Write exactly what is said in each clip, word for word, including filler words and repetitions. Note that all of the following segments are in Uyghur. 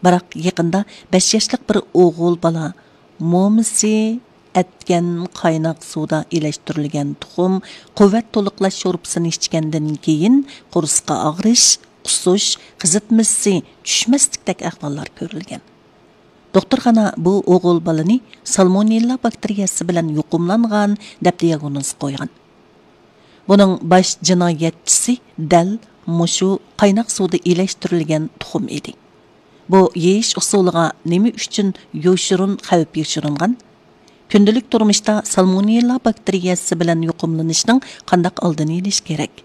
بىراق يېقىندا بەش ياشلىق بىر ئوغۇل بالا مومىسى ئەتكەن قايناق سۇدا ئىلەشتۈرۈلگەن تۇخۇم قۇۋۋەت تولۇقلاش شورپىسىنى ئىچكەندىن كېيىن قورسىقى ئاغرىش، قۇسۇش، قىزىتمىسى چۈشمەسلىكتەك ئەھۋاللار كۆرۈلگەن. دوختۇرخانا بۇ ئوغۇل بالىنى سالمونېللا باكتېرىيەسى بىلەن يۇقۇملانغان دەپ دىياگنوز قويغان. بۇنىڭ باش جىنايەتچىسى دەل مۇشۇ قايناق سۇدا ئىلەشتۈرۈلگەن تۇخۇم ئىدى. بۇ يېيىش ئۇسۇلىغا نېمە ئۈچۈن يوشۇرۇن خەۋپ يوشۇرۇنغان؟ كۈندىلىك تۇرمۇشتا سالمونېللا باكتېرىيەسى بىلەن يۇقۇملىنىشنىڭ قانداق ئالدىنى ئېلىش كېرەك؟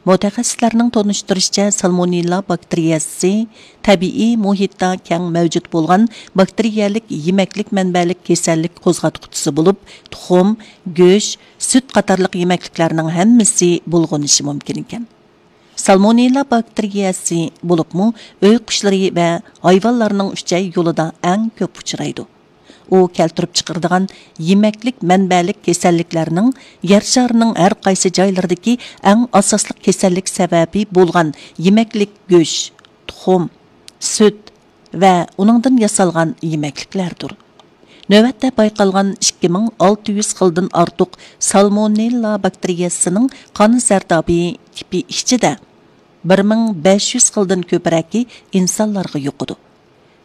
مۇتەخەسسىسلەرنىڭ تونۇشتۇرۇشىچە، سالمونېللا باكتېرىيەسى تەبىئىي مۇھىتتا كەڭ مەۋجۇت بولغان باكتېرىيەلىك يېمەكلىك مەنبەلىك كېسەللىك قوزغاتقۇچىسى بولۇپ، تۇخۇم، گۆش، سۈت قاتارلىق يېمەكلىكلەرنىڭ ھەممىسى بۇلغىنىشى مۇمكىن ئىكەن. سالمونېللا باكتېرىيەسى بولۇپمۇ ئۆي قۇشلىرى ۋە ھايۋانلارنىڭ ئۈچەي يولىدا ئەڭ كۆپ ئۇچرايدۇ. ئۇ كەلتۈرۈپ چىقىرىدىغان يېمەكلىك مەنبەلىك كېسەللىكلەرنىڭ يەر شارىنىڭ ھەر قايسى جايلىرىدىكى ئەڭ ئاساسلىق كېسەللىك سەۋەبى بولغان يېمەكلىك گۆش، تۇخۇم، سۈت ۋە ئۇنىڭدىن ياسالغان يېمەكلىكلەردۇر. نۆۋەتتە بايقالغان ئىككى مىڭ ئالتە يۈز خىلدىن ئارتۇق سالمونېللا باكتېرىيەسىنىڭ قان زەردابى تىپى ئىچىدە بىر مىڭ بەش يۈز خىلدىن كۆپرەكى ئىنسانلارغا يۇقىدۇ.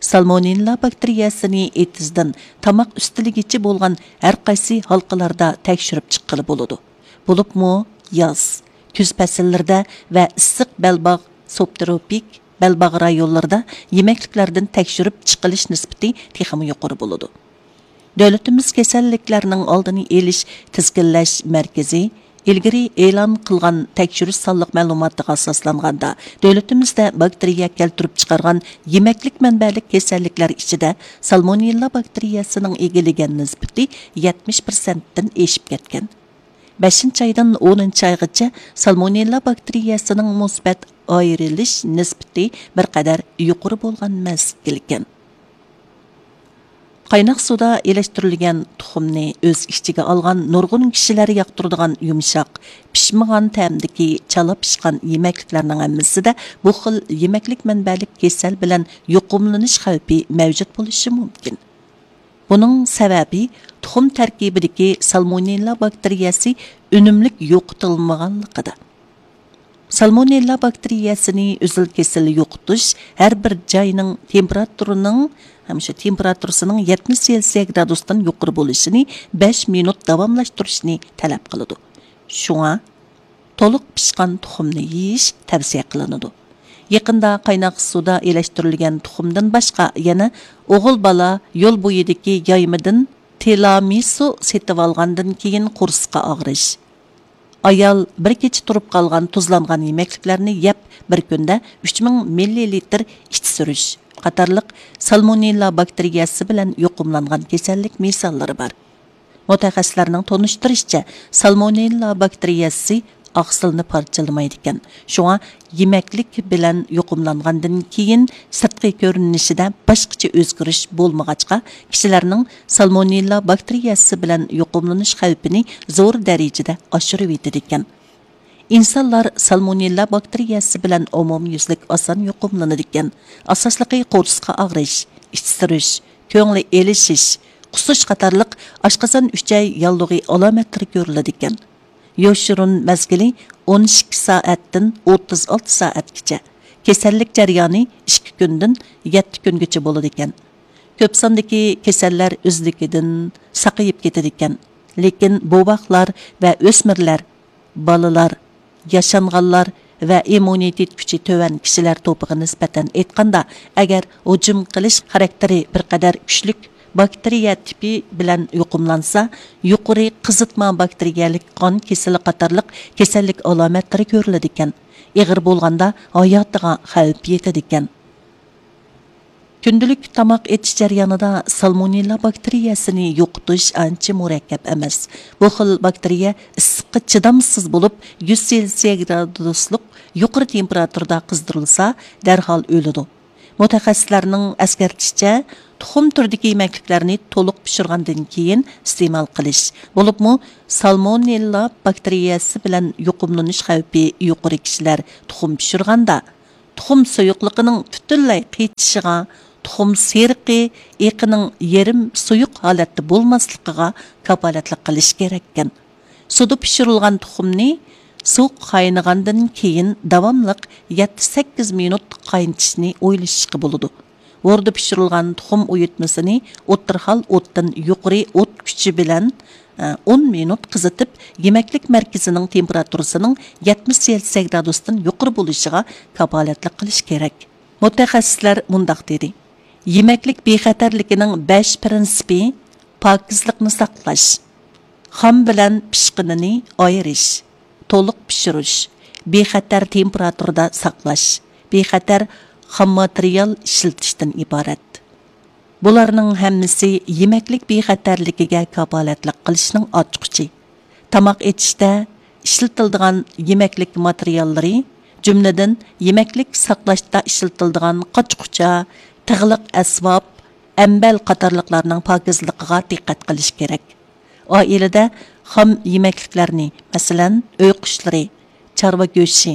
سالمونېللا باكتېرىيەسىنى ئېتىزدىن تاماق ئۈستىلىگىچە بولغان ھەر قايسى ھالقىلاردا تەكشۈرۈپ چىققىلى بولىدۇ. بولۇپمۇ ياز، كۈز پەسىللىرىدە ۋە ئىسسىق بەلباغ، سۇبتروپىك بەلباغ رايونلىرىدا يېمەكلىكلەردىن تەكشۈرۈپ چىقىلىش نىسبىتى تېخىمۇ يۇقىرى بولىدۇ. دۆلىتىمىز كېسەللىكلەرنىڭ ئالدىنى ئېلىش تىزگىنلەش مەركىزى ئىلگىرى ئېلان قىلغان تەكشۈرۈش سانلىق مەلۇماتىغا ئاساسلانغاندا، دۆلىتىمىزدە باكتېرىيە كەلتۈرۈپ چىقارغان يېمەكلىك مەنبەلىك كېسەللىكلەر ئىچىدە سالمونېللا باكتېرىيەسىنىڭ ئىگىلىگەن نىسبىتى يەتمىش پىرسەنتتىن ئېشىپ كەتكەن. بەشىنچى ئايدىن ئونىنچى ئايغىچە سالمونېللا باكتېرىيەسىنىڭ مۇسبەت ئايرىلىش نىسبىتى بىر قەدەر يۇقىرى بولغان مەزگىلكەن. قايناق سۇدا ئىلەشتۈرۈلگەن تۇخۇمنى ئۆز ئىچىگە ئالغان نۇرغۇن كىشىلەر ياقتۇرىدىغان يۇمشاق، پىشمىغان تەمدىكى چالا پىشقان يېمەكلىكلەرنىڭ ھەممىسىدە بۇ خىل يېمەكلىك مەنبەلىك كېسەل بىلەن يۇقۇملىنىش خەۋپى مەۋجۇت بولۇشى مۇمكىن. بۇنىڭ سەۋەبى تۇخۇم تەركىبىدىكى سالمونېللا باكتېرىيەسى ئۈنۈملۈك يوقىتىلمىغانلىقىدا. سالمونېللا باكتېرىيەسىنى ئۈزۈل-كېسىل يوقىتىش ھەر بىر جاينىڭ تېمپېراتۇرىنىڭ، ھەم شۇ تېمپېراتۇرىسىنىڭ يەتمىش سېلسىيە گرادۇستىن يۇقىرى بولۇشىنى بەش مىنۇت داۋاملاشتۇرۇشنى تەلەپ قىلىدۇ. شۇڭا تولۇق پىشقان تۇخۇمنى يېيىش تەۋسىيە قىلىنىدۇ. يېقىندا قايناق سۇدا ئىلەشتۈرۈلگەن تۇخۇمدىن باشقا يەنە ئوغۇل بالا يول بويىدىكى يايمىدىن تىلامىسۇ سېتىۋالغاندىن كېيىن قورسىقى ئاغرىش، ئايال بىر كېچە تۇرۇپ قالغان تۇزلانغان يېمەكلىكلەرنى يەپ، بىر كۈندە ئۈچ مىڭ مىللىلىتىر ئىچ سۈرۈش قاتارلىق سالمونېللا باكتېرىيەسى بىلەن يۇقۇملانغان كېسەللىك مىساللىرى بار. مۇتەخەسسىسلەرنىڭ تونۇشتۇرۇشىچە، سالمونېللا باكتېرىيەسى ئاقسىلنى پارچىلىمايدىكەن. شۇڭا يېمەكلىك بىلەن يۇقۇملانغاندىن كېيىن سىرتقى كۆرۈنۈشىدە باشقىچە ئۆزگىرىش بولمىغاچقا، كىشىلەرنىڭ سالمونېللا باكتېرىيەسى بىلەن يۇقۇملىنىش خەۋپىنى زور دەرىجىدە ئاشۇرۇۋېتىدىكەن. ئىنسانلار سالمونېللا باكتېرىيەسى بىلەن ئومۇميۈزلۈك ئاسان يۇقۇملىنىدىكەن. ئاساسلىقى قورسىقى ئاغرىش، ئىچ سۈرۈش، كۆڭلى ئېلىشىش، قۇسۇش قاتارلىق ئاشقازان ئۈچەي ياللۇغى ئالامەتلىرى كۆرۈلىدىكەن. يوشۇرۇن مەزگىلى ئون ئىككى سائەتتىن ئوتتۇز ئالتە سائەتكىچە، كېسەللىك جەريانى ئىككى كۈندىن يەتتە كۈنگىچە بولىدىكەن. كۆپ ساندىكى كېسەللەر ئۆزلۈكىدىن ساقىيىپ كېتىدىكەن، لېكىن بوۋاقلار ۋە ئۆسمۈرلەر، بالىلار، ياشانغانلار ۋە ئىممۇنىتېت كۈچى تۆۋەن كىشىلەر توپىغا نىسبەتەن ئېيتقاندا، ئەگەر ھۇجۇم قىلىش خاراكتېرى بىر قەدەر كۈچلۈك باكتېرىيە تىپى بىلەن يۇقۇملانسا، يۇقىرى قىزىتما باكتېرىيەلىك قان كېسىلى قاتارلىق كېسەللىك ئالامەتلىرى كۆرۈلىدىكەن. ئېغىر بولغاندا ھاياتىغا خەۋپ يېتىدىكەن. كۈندىلىك تاماق ئېتىش جەريانىدا سالمونېللا باكتېرىيەسىنى يوقىتىش ئانچە مۇرەككەپ ئەمەس. بۇ خىل باكتېرىيە ئىسسىققا چىدامسىز بولۇپ، يۈز سېلسىيە گرادۇسلۇق يۇقىرى تېمپېراتۇرىدا قىزدۇرۇلسا، دەرھال ئۆلىدۇ. مۇتەخەسسىسلەرنىڭ ئەسكەرتىشىچە، تۇخۇم تۈرىدىكى يېمەكلىكلەرنى تولۇق پىشۇرغاندىن كېيىن ئىستېمال قىلىش، بولۇپمۇ سالمونېللا باكتېرىيەسى بىلەن يۇقۇملىنىش خەۋپى يۇقىرى كىشىلەر تۇخۇم پىشۇرغاندا، تۇخۇم سۇيۇقلۇقىنىڭ پۈتۈنلەي قېچىشىغا، تۇخۇم سېرىقى ئېقىنىڭ يېرىم سۇيۇق ھالەتتە بولماسلىقىغا كاپالەتلىك قىلىش كېرەككەن. سۇدا پىشۇرۇلغان تۇخۇمنى سۇ قاينىغاندىن كېيىن داۋاملىق يەتتە سەككىز مىنۇت قاينىتىشنى ئويلىشىشقا بولىدۇ. ھوردا پىشۇرۇلغان تۇخۇم ئۇيۇتمىسىنى ئوتتۇرا ھال ئوتتىن يۇقىرى ئوت كۈچى بىلەن، ئە، ئون مىنۇت قىزىتىپ، يېمەكلىك مەركىزىنىڭ تېمپېراتۇرىسىنىڭ يەتمىش سېلسىيەس گرادۇستىن يۇقىرى بولۇشىغا كاپالەتلىك قىلىش كېرەك. مۇتەخەسسىسلەر مۇنداق دېدى: يېمەكلىك بىخەتەرلىكىنىڭ بەش پىرىنسىپى پاكىزلىقنى ساقلاش، خام بىلەن پىشقىنىنى ئايرىش، تولۇق پىشۇرۇش، بىخەتەر تېمپېراتۇرىدا ساقلاش، بىخەتەر خام ماتېرىيال ئىشلىتىشتىن ئىبارەت. بۇلارنىڭ ھەممىسى يېمەكلىك بىخەتەرلىكىگە كاپالەتلىك قىلىشنىڭ ئاچقۇچى. تاماق ئېتىشتە ئىشلىتىلىدىغان يېمەكلىك ماتېرىياللىرى، جۈملىدىن يېمەكلىك ساقلاشتا ئىشلىتىلىدىغان قاچا-قۇچا، تىغلىق ئەسۋاب، ئەمبەل قاتارلىقلارنىڭ پاكىزلىقىغا دىققەت قىلىش كېرەك. ئائىلىدە خام يېمەكلىكلەرنى، مەسىلەن، ئۆي قۇشلىرى، چارۋا گۆشى،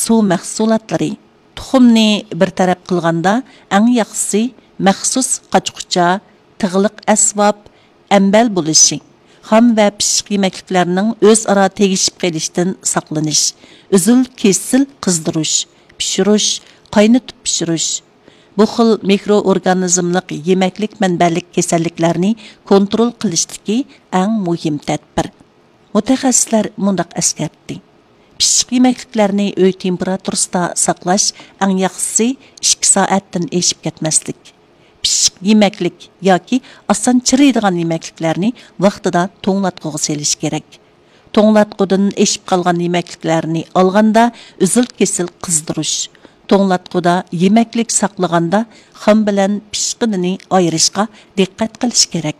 سۇ مەھسۇلاتلىرى، تۇخۇمنى بىر تەرەپ قىلغاندا، ئەڭ ياخشىسى مەخسۇس قاچا-قۇچا، تىغلىق ئەسۋاب، ئەمبەل بولۇشى، خام ۋە پىششىق يېمەكلىكلەرنىڭ ئۆزئارا تېگىشىپ قېلىشىدىن ساقلىنىش، ئۈزۈل-كېسىل قىزدۇرۇش، پىشۇرۇش، قاينىتىپ پىشۇرۇش، بۇ خىل مىكرو ئورگانىزملىق يېمەكلىك مەنبەلىك كېسەللىكلەرنى كونترول قىلىشتىكى ئەڭ مۇھىم تەدبىر. مۇتەخەسسىسلەر مۇنداق ئەسكەرتتى: پىششىق يېمەكلىكلەرنى ئۆي تېمپېراتۇرىسىدا ساقلاش، ئەڭ ياخشىسى ئىككى سائەتتىن ئېشىپ كەتمەسلىك. پىششىق يېمەكلىك ياكى ئاسان چىرىيدىغان يېمەكلىكلەرنى ۋاقتىدا توڭلاتقۇغا سېلىش كېرەك. توڭلاتقۇدىن ئېشىپ قالغان يېمەكلىكلەرنى ئالغاندا ئۈزۈل-كېسىل قىزدۇرۇش، توڭلاتقۇدا يېمەكلىك ساقلىغاندا خام بىلەن پىشقىنىنى ئايرىشقا دىققەت قىلىش كېرەك.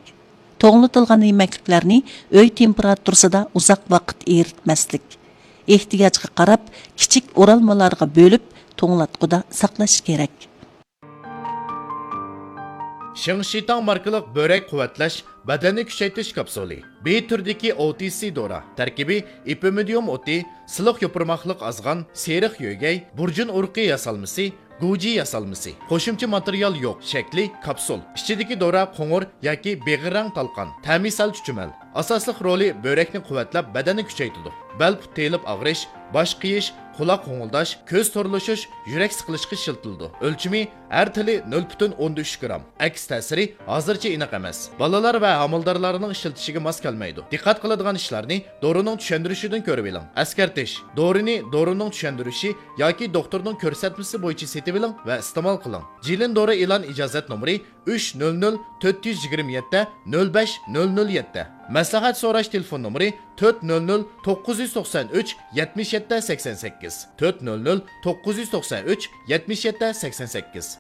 توڭلىتىلغان يېمەكلىكلەرنى ئۆي تېمپېراتۇرىسىدا ئۇزاق ۋاقىت ئېرىتمەسلىك. ئېھتىياجغا قاراپ، كىچىك ئورالمىلارغا بۆلۈپ، توڭلاتقۇدا ساقلاش كېرەك. شىڭشىتاڭ ماركىلىق بۆرەك قۇۋۋەتلەش، بەدەننى كۈچەيتىش كاپسۇلى. بى تۈرىدىكى ئو تى سى دورا. تەركىبى ئېپىمىدىيۇم ئوتى، سىلىق يوپۇرماقلىق ئازغان، سېرىق يۆگەي، بۇرجۇن ئۇرۇقى ياسالمىسى، گۇجى ياسالمىسى. قوشۇمچە ماتېرىيال يوق. شەكلى كاپسۇل. ئىچىدىكى دورا قوڭۇر ياكى بېغىر رەڭ تالقان. تەمى سەل چۈچۈمەل. ئاساسلىق رولى بۆرەكنى قۇۋۋەتلەپ، بەدەننى كۈچەيتىدۇ. بەل پۇت تېيىلىپ ئاغرىش، باش قېيىش، قۇلاق غوڭۇلداش، كۆز تورلىشىش، يۈرەك سىقىلىشقا ئىشلىتىلىدۇ. ئۆلچىمى ھەر تېلى نۆل پۈتۈن ئوندىن ئۈچ گرام. ئەكس تەسىرى ھازىرچە ئېنىق ئەمەس. بالىلار ۋە ھامىلىدارلارنىڭ ئىشلىتىشىگە ماس كەلمەيدۇ. دىققەت قىلىدىغان ئىشلارنى دورىنىڭ چۈشەندۈرۈشىدىن كۆرۈۋېلىڭ. ئەسكەرتىش: دورىنى دورىنىڭ چۈشەندۈرۈشى ياكى دوختۇرنىڭ كۆرسەتمىسى بويىچە سېتىۋېلىڭ ۋە ئىستېمال قىلىڭ. جىلىن دورا ئېلان ئىجازەت نومۇرى ئۈچ نۆل نۆل تۆت يۈز يىگىرمە يەتتە نۆل بەش نۆل نۆل يەتتە. مەسلىھەت سوراش تېلېفون نومۇرى تۆت نۆل نۆل توققۇز يۈز توقسان ئۈچ يەتمىش يەتتە سەكسەن سەككىز، تۆت نۆل نۆل توققۇز يۈز توقسان ئۈچ يەتمىش يەتتە سەكسەن سەككىز.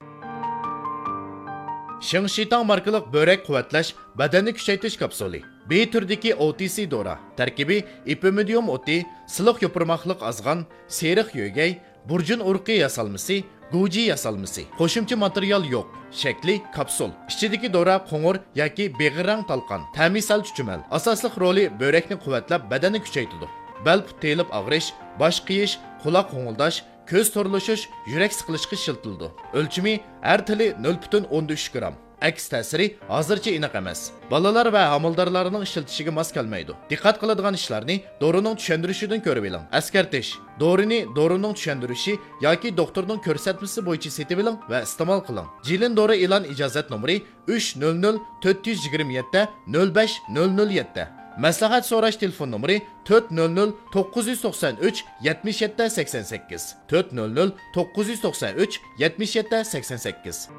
شىڭشىتاڭ ماركىلىق بۆرەك قۇۋۋەتلەش، بەدەننى كۈچەيتىش كاپسۇلى. بى تۈرىدىكى ئو تى سى دورا. تەركىبى ئېپىمىدىيۇم ئوتى، سىلىق يوپۇرماقلىق ئازغان، سېرىق يۆگەي، بۇرجۇن ئۇرۇقى ياسالمىسى، گۇجى ياسالمىسى. قوشۇمچە ماتېرىيال يوق. شەكلى كاپسۇل. ئىچىدىكى دورا قوڭۇر ياكى بېغىر رەڭ تالقان. تەمى سەل چۈچۈمەل. ئاساسلىق رولى بۆرەكنى قۇۋۋەتلەپ، بەدەننى كۈچەيتىدۇ. بەل پۇت تېيىلىپ ئاغرىش، باش قېيىش، قۇلاق غوڭۇلداش، كۆز تورلىشىش، يۈرەك سىقىلىشقا ئىشلىتىلىدۇ. ئۆلچىمى ھەر تېلى نۆل پۈتۈن ئوندىن ئۈچ گرام. ئەكس تەسىرى ھازىرچە ئېنىق ئەمەس. بالىلار ۋە ھامىلىدارلارنىڭ ئىشلىتىشىگە ماس كەلمەيدۇ. دىققەت قىلىدىغان ئىشلارنى دورىنىڭ چۈشەندۈرۈشىدىن كۆرۈۋېلىڭ. ئەسكەرتىش: دورىنى دورىنىڭ چۈشەندۈرۈشى ياكى دوختۇرنىڭ كۆرسەتمىسى بويىچە سېتىۋېلىڭ ۋە ئىستېمال قىلىڭ. جىلىن دورا ئېلان ئىجازەت نومۇرى ئۈچ نۆل نۆل تۆت يۈز يىگىرمە يەتتە نۆل بەش نۆل نۆل يەتتە. مەسلىھەت سوراش تېلېفون نومۇرى تۆت نۆل نۆل توققۇز يۈز توقسان ئۈچ يەتمىش يەتتە سەكسەن سەككىز، تۆت نۆل نۆل توققۇز يۈز توقسان ئۈچ يەتمىش يەتتە سەكسەن سەككىز.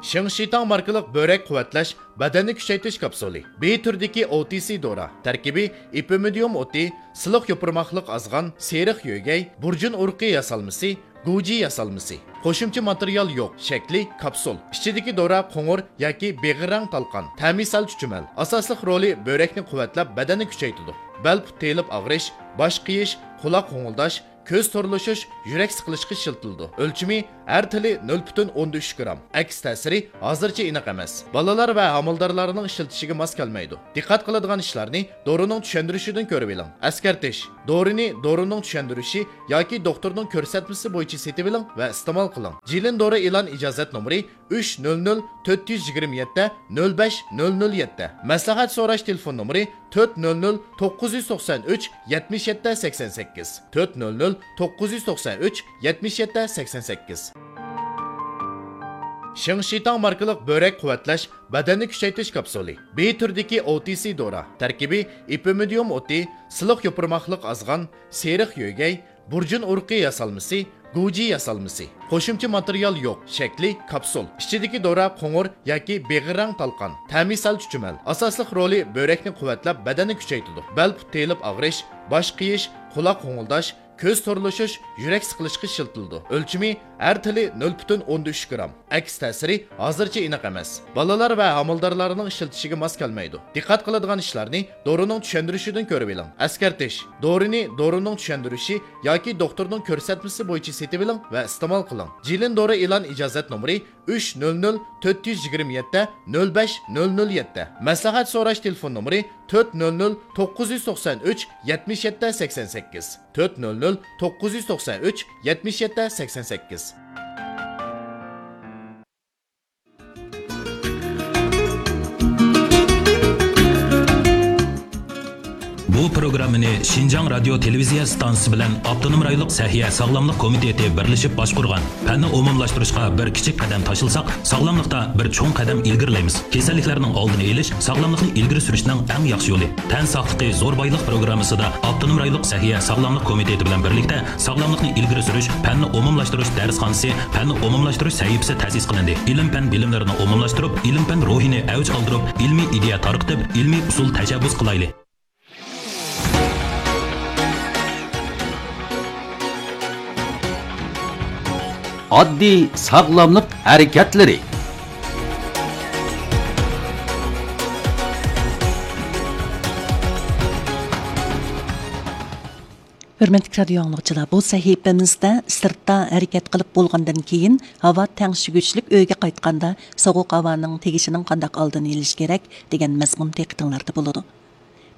شىڭشىتاڭ ماركىلىق بۆرەك قۇۋۋەتلەش، بەدەننى كۈچەيتىش كاپسۇلى. بى تۈرىدىكى ئو تى سى دورا. تەركىبى ئېپىمىدىيۇم ئوتى، سىلىق يوپۇرماقلىق ئازغان، سېرىق يۆگەي، بۇرجۇن ئۇرۇقى ياسالمىسى، گۇجى ياسالمىسى. قوشۇمچە ماتېرىيال يوق. شەكلى كاپسۇل. ئىچىدىكى دورا قوڭۇر ياكى بېغىر رەڭ تالقان. تەمى سەل چۈچۈمەل. ئاساسلىق رولى بۆرەكنى قۇۋۋەتلەپ، بەدەننى كۈچەيتىدۇ. بەل پۇت تېيىلىپ ئاغرىش، باش قېيىش، قۇلاق غوڭۇلداش، كۆز تورلىشىش، يۈرەك سىقىلىشقا ئىشلىتىلىدۇ. ئۆلچىمى ھەر تىلى نۆل پۈتۈن ئوندىن ئۈچ گرام. ئەكس تەسىرى ھازىرچە ئېنىق ئەمەس. بالىلار ۋە ھامىلىدارلارنىڭ ئىشلىتىشىگە ماس كەلمەيدۇ. دىققەت قىلىدىغان ئىشلارنى دورىنىڭ چۈشەندۈرۈشىدىن كۆرۈۋېلىڭ. ئەسكەرتىش: دورىنى دورىنىڭ چۈشەندۈرۈشى ياكى دوختۇرنىڭ كۆرسەتمىسى بويىچە سېتىۋېلىڭ ۋە ئىستېمال قىلىڭ. جىلىن دورا ئېلان ئىجازەت نومۇرى ئۈچ نۆل نۆل تۆت يۈز يىگىرمە يەتتە نۆل بەش نۆل نۆل يەتتە. مەسلىھەت سوراش تېلېفون نومۇرى تۆت نۆل نۆل توققۇز يۈز توقسان ئۈچ يەتمىش يەتتە سەكسەن سەككىز، تۆت نۆل نۆل توققۇز يۈز توقسان ئۈچ يەتمىش يەتتە سەكسەن سەككىز. شىڭشىتاڭ ماركىلىق بۆرەك قۇۋۋەتلەش، بەدەننى كۈچەيتىش كاپسۇلى. بى تۈرىدىكى ئو تى سى دورا. تەركىبى: ئېپىمىدىيۇم ئوتى، سىلىق يوپۇرماقلىق ئازغان، سېرىق يۆگەي، بۇرجۇن ئۇرۇقى ياسالمىسى، گۇجى ياسالمىسى. قوشۇمچە ماتېرىيال يوق. شەكلى: كاپسۇل. ئىچىدىكى دورا قوڭۇر ياكى بېغىر رەڭ تالقان. تەمى سەل چۈچۈمەل. ئاساسلىق رولى: بۆرەكنى قۇۋۋەتلەپ، بەدەننى كۈچەيتىدۇ. بەل پۇت تېيىلىپ ئاغرىش، باش قېيىش، قۇلاق غوڭۇلداش، كۆز تورلىشىش، يۈرەك سىقىلىشقا ئىشلىتىلىدۇ. ئۆلچىمى: ھەر تىلى نۆل پۈتۈن ئوندىن ئۈچ گرام. ئەكس تەسىرى ھازىرچە ئېنىق ئەمەس. بالىلار ۋە ھامىلىدارلارنىڭ ئىشلىتىشىگە ماس كەلمەيدۇ. دىققەت قىلىدىغان ئىشلارنى دورىنىڭ چۈشەندۈرۈشىدىن كۆرۈۋېلىڭ. ئەسكەرتىش: دورىنى دورىنىڭ چۈشەندۈرۈشى ياكى دوختۇرنىڭ كۆرسەتمىسى بويىچە سېتىۋېلىڭ ۋە ئىستېمال قىلىڭ. جىلىن دورا ئېلان ئىجازەت نومۇرى ئۈچ نۆل نۆل تۆت يۈز يىگىرمە يەتتە نۆل بەش نۆل نۆل يەتتە. مەسلىھەت سوراش تېلېفون نومۇرى تۆت نۆل نۆل توققۇز يۈز توقسان ئۈچ يەتمىش يەتتە سەكسەن سەككىز، تۆت نۆل نۆل توققۇز يۈز توقسان ئۈچ يەتمىش يەتتە سەكسەن سەككىز. بۇ پروگراممىنى شىنجاڭ رادىيو تېلېۋىزىيە ئىستانسىسى بىلەن ئاپتونوم رايونلۇق سەھىيە ساغلاملىق كومىتېتى بىرلىشىپ باشقۇرغان. پەننى ئومۇملاشتۇرۇشقا بىر كىچىك قەدەم تاشلىساق، ساغلاملىقتا بىر چوڭ قەدەم ئىلگىرىلەيمىز. كېسەللىكلەرنىڭ ئالدىنى ئېلىش، ساغلاملىقنى ئىلگىرى سۈرۈشنىڭ ئەڭ ياخشى يولى. تەن ساقلىقى زور بايلىق پروگراممىسىدا ئاپتونوم رايونلۇق سەھىيە ساغلاملىق كومىتېتى بىلەن بىرلىكتە ساغلاملىقنى ئىلگىرى سۈرۈش، پەننى ئومۇملاشتۇرۇش دەرسخانىسى، پەننى ئومۇملاشتۇرۇش سەھىپىسى تەسىس قىلىندى. ئىلىم-پەن بىلىملىرىنى ئومۇملاشتۇرۇپ، ئىلىم-پەن روھىنى ئەۋج ئالدۇرۇپ، ئىلمىي ئىدىيە تارقىتىپ، ئىلمىي ئۇسۇل تەشەببۇس قىلايلى. ئاددىي ساغلاملىق ھەرىكەتلىرى. ھۆرمەتلىك رادىيو ئاڭلىغۇچىلار، بۇ سەھىپىمىزدە سىرتتا ھەرىكەت قىلىپ بولغاندىن كېيىن، ھاۋا تەڭشىگۈچلۈك ئۆيگە قايتقاندا سوغۇق ھاۋانىڭ تېگىشىنىڭ قانداق ئالدىنى ئېلىش كېرەك دېگەن مەزمۇن دىققىتىڭلاردا بولىدۇ.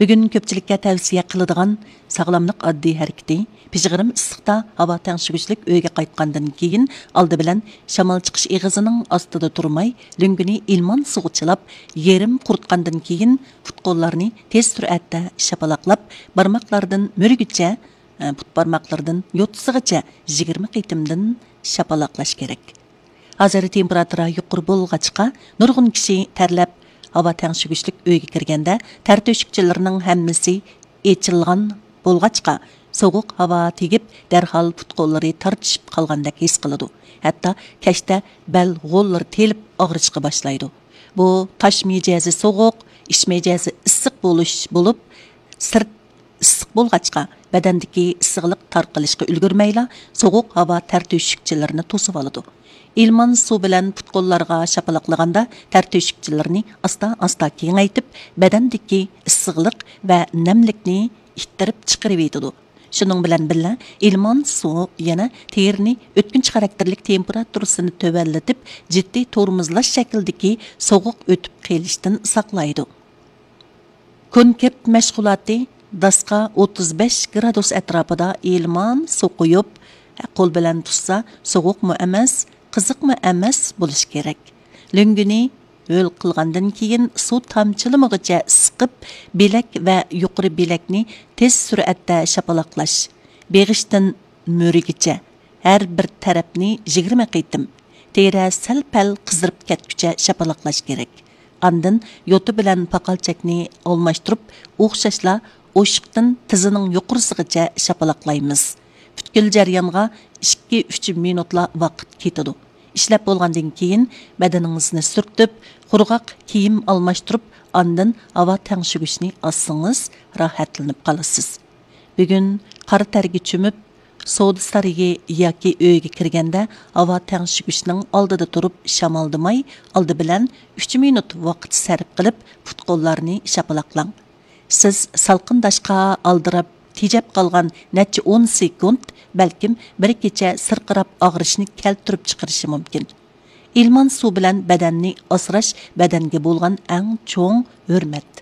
بۈگۈن كۆپچىلىككە تەۋسىيە قىلىدىغان ساغلاملىق ئاددىي ھەرىكىتى، پىژغىرىم ئىسسىقتا ھاۋا تەڭشىگۈچلۈك ئۆيگە قايتقاندىن كېيىن، ئالدى بىلەن شامال چىقىش ئېغىزىنىڭ ئاستىدا تۇرماي، لۆڭگىنى ئىلمان سۇغا چىلاپ، يېرىم قۇرۇتقاندىن كېيىن، پۇت-قوللارنى تېز سۈرئەتتە شاپىلاقلاپ، بارماقلاردىن مۈرىگىچە، پۇت بارماقلىرىدىن يوتىسىغىچە يىگىرمە قېتىمدىن شاپىلاقلاش كېرەك. ھازىر تېمپېراتۇرا يۇقىرى بولغاچقا، نۇرغۇن كىشى تەرلەپ، ھاۋا تەڭشىگۈچلۈك ئۆيگە كىرگەندە، تەر تۆشۈكچىلىرىنىڭ ھەممىسى ئېچىلغان بولغاچقا، سوغۇق ھاۋا تېگىپ، دەرھال پۇت-قوللىرى تارتىشىپ قالغاندەك ھېس قىلىدۇ. ھەتتا كەچتە بەل غوللىرى تېلىپ ئاغرىشقا باشلايدۇ. بۇ تاش مىجەزى سوغۇق، ئىچ مىجەزى ئىسسىق بولۇش بولۇپ، سىرت ئىسسىق بولغاچقا، بەدەندىكى ئىسسىقلىق تارقىلىشقا ئۈلگۈرمەيلا، سوغۇق ھاۋا تەر تۆشۈكچىلىرىنى توسۇۋالىدۇ. ئىلمان سۇ بىلەن پۇت-قوللارغا شاپىلاقلىغاندا، تەر تۆشۈكچىلىرىنى ئاستا-ئاستا كېڭەيتىپ، بەدەندىكى ئىسسىقلىق ۋە نەملىكنى ئىتتىرىپ چىقىرىۋېتىدۇ. شۇنىڭ بىلەن بىللە، ئىلمان سۇ يەنە تېرىنى ئۆتكۈنچى خاراكتېرلىك تېمپېراتۇرىسىنى تۆۋەنلىتىپ، جىددىي تورمۇزلاش شەكلىدىكى سوغۇق ئۆتۈپ قېلىشتىن ساقلايدۇ. كونكرېت مەشغۇلاتى: داسقا ئوتتۇز بەش گرادۇس ئەتراپىدا ئىلمان سۇ قۇيۇپ، قول بىلەن تۇتسا سوغۇقمۇ ئەمەس، قىزىقمۇ ئەمەس بولۇشى كېرەك. لۆڭگىنى ھۆل قىلغاندىن كېيىن، سۇ تامچىلىمىغۇچە سىقىپ، بىلەك ۋە يۇقىرى بىلەكنى تېز سۈرئەتتە شاپىلاقلاش. بېغىشتىن مۈرىگىچە ھەر بىر تەرەپنى يىگىرمە قېتىم، تېرە سەل-پەل قىزىرىپ كەتكۈچە شاپىلاقلاش كېرەك. ئاندىن يوتا بىلەن پاقالچەكنى ئالماشتۇرۇپ، ئوخشاشلا ئوشۇقتىن تىزىنىڭ يۇقىرىسىغىچە شاپىلاقلايمىز. پۈتكۈل جەريانغا ئىككى-ئۈچ مىنۇتلا ۋاقىت كېتىدۇ. ئىشلەپ بولغاندىن كېيىن، بەدىنىڭىزنى سۈرتۈپ، قۇرغاق كىيىم ئالماشتۇرۇپ، ئاندىن ھاۋا تەڭشىگۈچنى ئالسىڭىز، راھەتلىنىپ قالىسىز. بۈگۈن قارا تەرگە چۆمۈپ، سودا سارىيى ياكى ئۆيگە كىرگەندە، ھاۋا تەڭشىگۈچنىڭ ئالدىدا تۇرۇپ شامالدىماي، ئالدى بىلەن ئۈچ مىنۇت ۋاقىت سەرپ قىلىپ، پۇت-قوللارنى شاپىلاقلاڭ. سىز سالقىنداشقا ئالدىراپ، تېجەپ قالغان نەچچە ئون سېكۇنت، بەلكىم بىر كېچە سىرقىراپ ئاغرىشنى كەلتۈرۈپ چىقىرىشى مۇمكىن. ئىلمان سۇ بىلەن بەدەننى ئاسراش بەدەنگە بولغان ئەڭ چوڭ ھۆرمەت.